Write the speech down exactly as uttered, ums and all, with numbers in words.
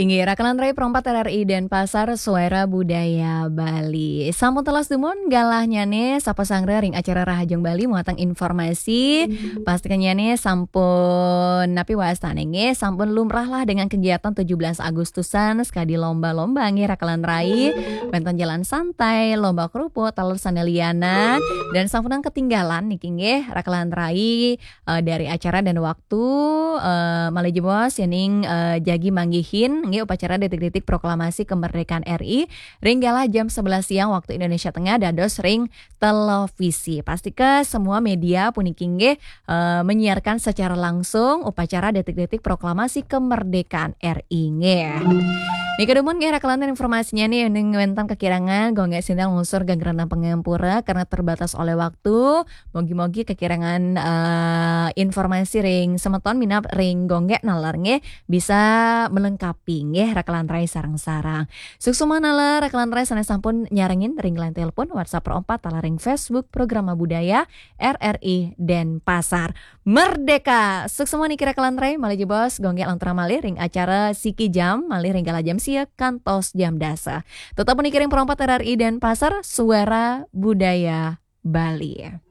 Inggih, Rakalan Rai Pro empat R R I Denpasar, Suara Budaya Bali. Sampun telas dumun galahnyane, sapa sanggra ring acara Rahajeng Bali muatang informasi. Pastikannyane sampun napi wastane nggih, sampun lumrah lah dengan kegiatan tujuh belas Agustusan, sekadi lomba-lomba nggih Rakalan Rai. Wenten jalan santai, lomba kerupuk, taler sane lianan, dan sampunang ketinggalan niki nggih Rakalan Rai eh, dari acara dan waktu, eh, malih jebos yening eh, jagi manggihin nggih upacara detik-detik proklamasi kemerdekaan R I ring galah jam sebelas siang waktu Indonesia Tengah dados ring televisi. Pastika semua media puniki nggih eh, menyiarkan secara langsung upacara detik-detik proklamasi kemerdekaan R I nggih. Nika dumun nggih Rakalan informasinya nih, ning wenten kekirangan, Gung Gek Sinten nglungsur geng rena pangapura karena terbatas oleh waktu. Mogi-mogi kekirangan eh, informasi ring semeton minab ring Gung Gek naler nggih bisa melengkapi nggih Rakalan Rai sareng-sareng. Suksma naler Rakalan Rai sane sampun nyarengin ring line telepon, WhatsApp Pro empat taler ring Facebook Programa Budaya R R I Denpasar. Merdeka. Suksma niki Rakalan Rai, malih jebos Gung Gek lanturang malih ring acara Siki Jam, malih ring galah jam sia kantos jam dasa. Tetep niki ring Pro empat R R I Denpasar, Suara Budaya Bali.